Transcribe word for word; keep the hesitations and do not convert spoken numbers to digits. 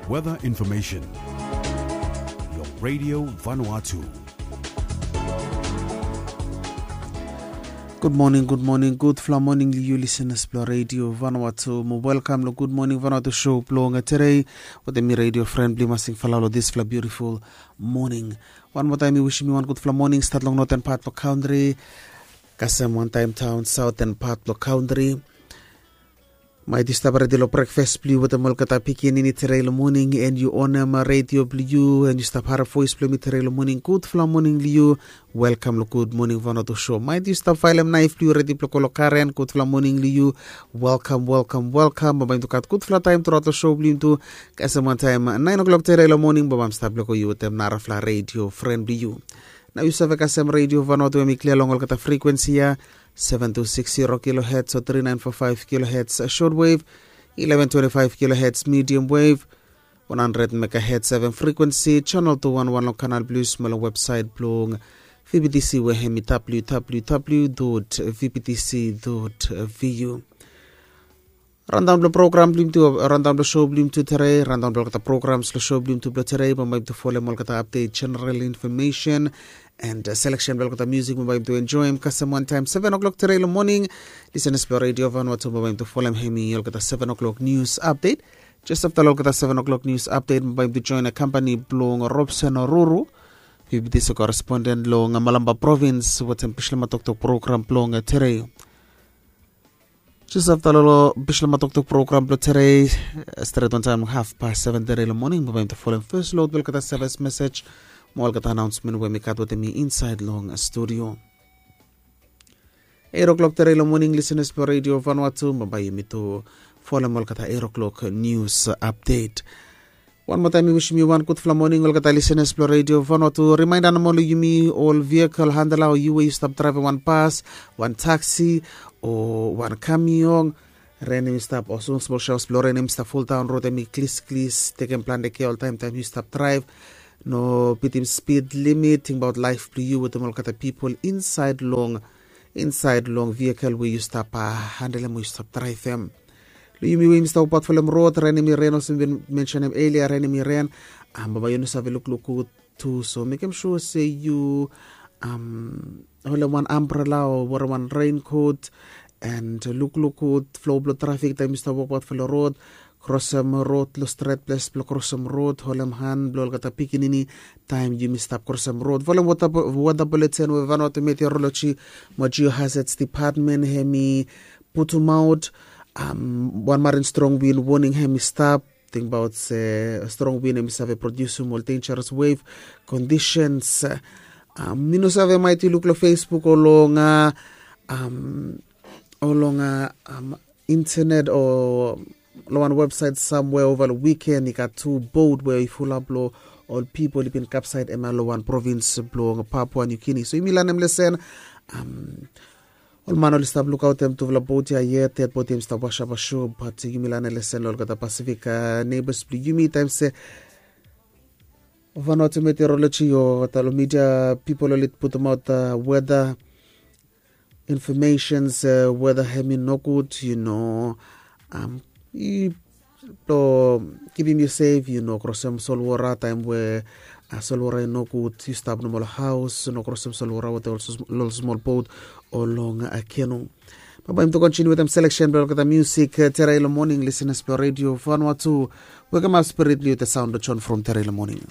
Weather information. Long Radio Vanuatu. Gud moning, gud moning, gudfala moning long yu lisenas blong Radio Vanuatu. Mo welkam long Gud Moning Vanuatu show blong tedei. Wetem mi radio fren blong yu Masing Falao long disfala biutiful moning. Wan moa taem mi wisim yu wan gudfala moning, stat long noten pat blong kantri kasem wantaem taon saoten pat blong kantri. Maet yu stap redi long brekfas blong yu wetem olgeta pikinini tedei long moning, en yu onem redio blong yu, en yu stap harem voes blong mi tedei long moning, gudfala moning long yu. Welkam long Gud Moning Vanuatu show. Maet yu stap faelem naef blong yu redi blong go long karen, gudfala moning long yu. Welkam, welkam, welkam. Bambae yumi tu gat gudfala taem truaot long show blong yumi tu. Kasem wantaem naen o'clock tedei long moning, bambae mi stap long go yu wetem narafala redio fren blong yu. Nao yu save kasem redio Vanuatu we hemi klia long olgeta frikuensi ya, seven two six zero kilohertz o three nine four five kilohertz shortwave, eleven twenty-five kilohertz medium wave, one hundred megahertz F M frikuensi, channel two one one long Kanal Plus, mo long websaet blong V B T C we hemi W W W dot V B T C dot V U. Randaon blong program blong yumi tu, randaon blong show blong yumi tu tedei, randaon blong olgeta programs long show blong yumi tu blong tedei, bambae yumi tu folem olgeta update, general information and uh, selection blong olgeta music bambae yumi tu enjoem kasem wantaem seven o'clock tedei long moning. Lisenas blong Radio Vanuatu, bambae yumi tu folem hemi olgeta seven o'clock news update. Jes afta long olgeta seven o'clock news update, bambae yumi tu joen a kampani blong Robson Ruru, V B T C correspondent long Malampa Province, wetem Bislama Toktok program blong tedei. Jes afta long Bislama Toktok program blong tedei, stret wantaem long haf pas seven tedei long moning, bambae yumi tu folem fes load blong olgeta sevis mesej mo olgeta anaonsmen we mi gat wetem mi insaed long studio. Eight o'clock tedei long moning, lisenas blong Radio Vanuatu, bambae yumi tu folem olgeta eight o'clock news update. Wan moa taem mi wisim yu wan gudfala moning, olgeta lisenas blong Radio Vanuatu. Rimaenda nomo long yumi ol vehicle handler, o yu we yu stap draevem wan bas, wan taksi, o wan kamion. Ren hemi stap, o smol shaos blong ren hemi stap fuldaon rod, hemi klisklis, tekem plante kea oltaem taem yu stap draev. No bitim spid limit, tingbaot laef blong yu wetem olgeta pipol insaed long, insaed long vehicle we yu stap, a, handelem o yu stap draevem. Long yumi we yumi stap wokbaot folem rod, ren hemi ren, olsem mi bin mensenem elia, ren hemi ren, bambae yu no save lukluk gud tu, so mekem sua se yu holem wan ambrela o werem wan renkot, and lukluk gud flo blong trafik taem yu stap wokbaot folem rod. Krosem rod long stret ples blong krosem rod, holem han blong olgeta pikinini taem yumi stap krosem rod. Folem weta buletin we Vanuatu Meteorology mo Geohazards Department hemi putumaot. Wan marin strong win woning hemi stap. Tingbaot se strong win hemi save produsim ol dangerous wave conditions. Mi no save maet yu luk long Facebook o long, o long internet o long wan websaet samwea ova long wiken i gat tu bot we i fulap long ol pipol i bin kapsaed hemia long wan provins blong Papua New Guinea. So yumi lanem lesen. Ol man oli stap lukaotem tufala bot ya yet, ded bot ya hemi stap wasap asua, bat yumi lanem lesen long olgeta Pasifik neighbors blong yumi taem se Vanuatu Meteorology o olgeta long media pipol oli putumaot weta information se weta hemi nogud, yu no, i blong kipim yu sef, yu no krosem solwora taem we solwora i nogud, yu stap nomo long haos, no krosem solwora wetem ol smol bot o long kenu. Bambae yumi tu kontiniu wetem seleksen blong olgeta musik tedei long moning, lisenas blong Radio Vanuatu. Wekemap spirit blong yu wetem saon blong John From tedei long moning.